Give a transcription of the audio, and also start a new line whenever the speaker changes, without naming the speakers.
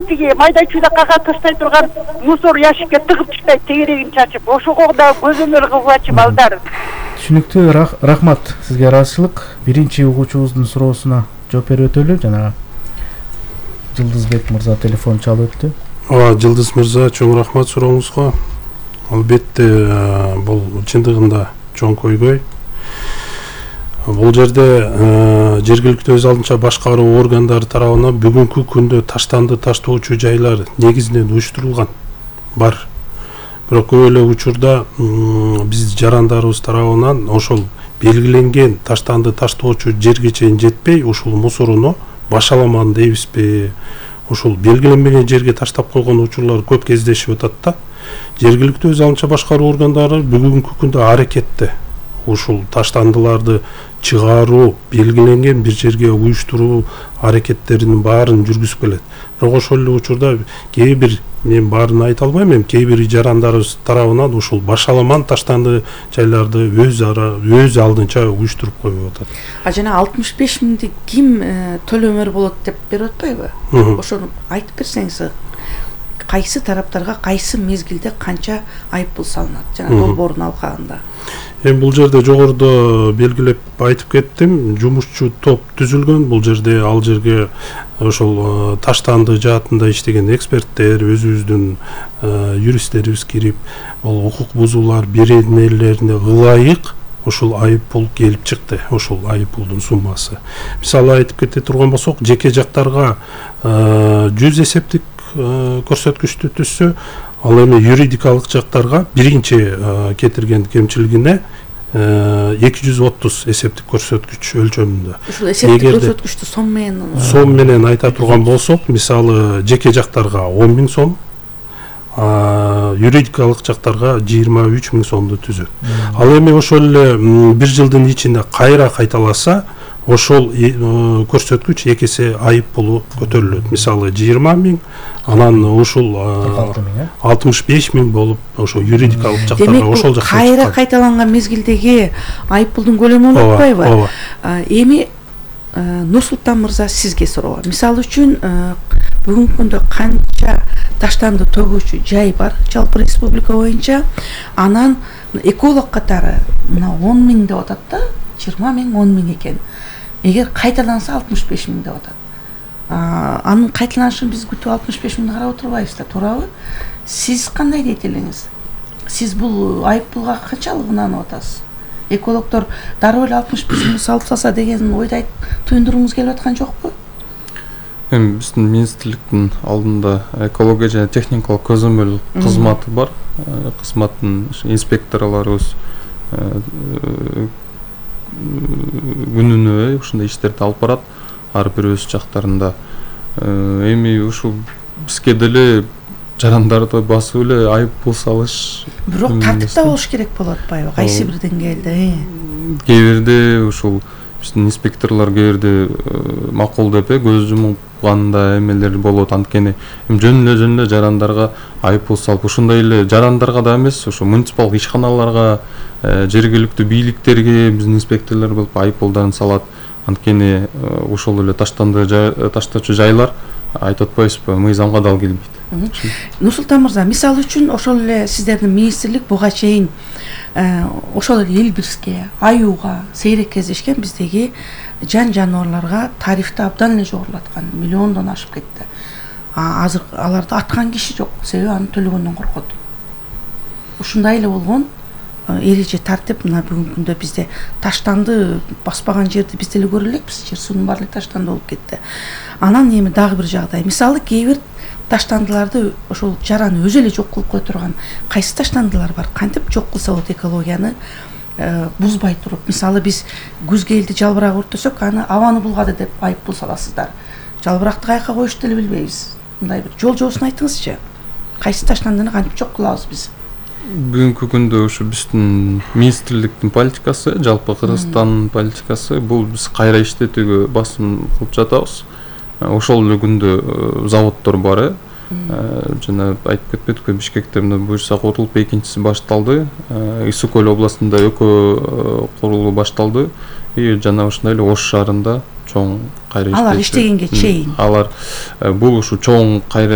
Тиги майда чүйдө кага таштай турган мусор ящикке тыгып таштайт, тегерегин чачып, ошого да көзөмөл кылгачы балдар.
Түшүнүктүү, рахмат сизге. Ыраазычылык. Биринчи угуучубуздун суроосуна жооп берип өтөлү. Жана Жылдызбек мырза телефон чалып өттү.
Жылдыз мырза, чоң рахмат сурооңузга. Албетте, бул чындыгында чоң көйгөй. Бул жерде жергиликтүү өз алдынча башкаруу органдары тарабынан бүгүнкү күндө таштанды таштоочу жайлар негизинен уюштурулган бар. Бирок көп эле учурда биз жарандарыбыз тарабынан ошол белгиленген таштанды таштоочу жерге чейин жетпей, ушул мусоруну башаламан дейбизби, ушул белгиленбеген жерге таштап койгон учурлар көп кездешип атат да. Жергиликтүү өз алдынча башкаруу органдары бүгүнкү күндө аракетте ушул таштандыларды чыгаруу, белгиленген бир жерге уюштуруу аракеттеринин баарын жүргүзүп келет. Бирок ошол эле учурда кээ бир, мен баарын айта албайм эми, кээ бир жарандарыбыз тарабынан ушул башаламан таштанды жайларды өз алдынча уюштуруп коюп атат.
Жана 65 миңди ким төлөмөр болот деп берип атпайбы? Ошону айтып берсеңиз, кайсы тараптарга кайсы мезгилде канча айыппул салынат жана долбоордун алкагында?
Эми бул жерде жогоруда белгилеп айтып кеттим, жумушчу топ түзүлгөн. Бул жерде ал жерге ошол таштанды жаатында иштеген эксперттер, өзүбүздүн юристтерибиз кирип, бул укук бузуулар беренелерине ылайык ушул айыппул келип чыкты. Ушул айыппулдун суммасы. Мисалы айтып кете турган болсок, жеке жактарга 100 эсептик көрсөткүчтү түзсө, ал эми юридикалык жактарга биринчи кетирген кемчилигине 230 эсептик көрсөткүч өлчөмүндө.
Ушул эсептик көрсөткүчтү сом
менен айта турган болсок, мисалы жеке жактарга 10 000 сом, юридикалык жактарга 23 000 сомду түзөт. Ал эми ошол эле бир жылдын ичинде кайра кайталаса, ошол көрсөткүч экесе айыппулу көтөрүлөт. Мисалы 20 000, анан ушул 65 000 болуп, ошол юридикалык жактарга ошол жакка
кайра кайталанган мезгилдеги айыппулдун көлөмү болуп атпайбы? Эми Нурсултан мырза, сизге суроо. Мисалы үчүн бүгүнкү күндө канча таштанды төгүүчү жай бар жалпы республика боюнча? Анан эколог катары мына 10 000 деп атат да, 20 000, 10 000 экен. Эгер кайталанса 65 000 деп атат. Анын кайталанышын биз күтүп 65 000 карап отурбайбыз да, туурабы? Сиз кандай дейт элеңиз? Сиз бул айыппулга канчалык ынанып атасыз? Экологдор дароо эле 65 000 салып салса деген ойду туюндуруңуз келип аткан жокпу?
Эми биздин министрликтин алдында экология жана техникалык көзөмөл кызматы бар. Кызматтын инспекторлорубуз күнүнө ушундай иштерди алып барат, ар бир өз жактарында. Эми ушул бизге деле жарандарды басып эле айыппул салыш.
Бирок тартипта болуш керек болуп атпайбы? Кайсы бир деңгээлде?
Кээ бирде ушул биздин инспекторлор кээ бирде макул деп көз жумганда эмелер болот. Анткени жөн эле жарандарга айыппул салып, ушундай эле жарандарга да эмес, ошо муниципалдык ишканаларга, жергиликтүү бийликтерге биздин инспекторлор болуп айыппулдарын салат. Анткени ошол эле таштоочу жайлар, айтып атпайбызбы, мыйзамга дал келбейт.
Нурсултан мырза, мисалы үчүн ошол эле сиздердин министрлик буга чейин ошол эле Элбирске, Аюуга сейрек кездешкен биздеги жан жаныбарларга тарифти абдан эле жогорулаткан, миллиондон ашып кетти. Азыр аларды аткан киши жок, себеби аны төлөгөндөн коркот. Ушундай эле болгон эреже тартип мына бүгүнкү күндө бизде таштанды баспаган жерди биз деле көрө элекпиз, жер суунун баары таштанды болуп кетти. Анан эми дагы бир жагдай, мисалы кээ бир таштандыларды ошол жараны өзү эле жок кылып кое турган кайсы таштандылар бар? Кантип жок кылса болот экологияны бузбай туруп? Мисалы биз күз келди, жалбырак өрттөсөк, аны абаны булгады деп айыппул саласыздар. Жалбыракты каяка коюшту деле билбейбиз. Мындай бир жол жоосун айтыңызчы. Кайсы таштандыны кантип жок кылабыз биз?
Бүгүнкү күндө ушу биздин министрликтин политикасы, жалпы Кыргызстандын политикасы, бул биз кайра иштетүүгө басым кылып жатабыз. Ошол эле күндө заводдор бар, жана айтып кетпедикпи, Бишкекте мына буюрса курулуп, экинчиси башталды. Ысык Көл областында экөө курулуу башталды. Жана ошондой эле Ош шаарында чоң кайра
алар иштегенге чейин
алар бул ушу чоң кайра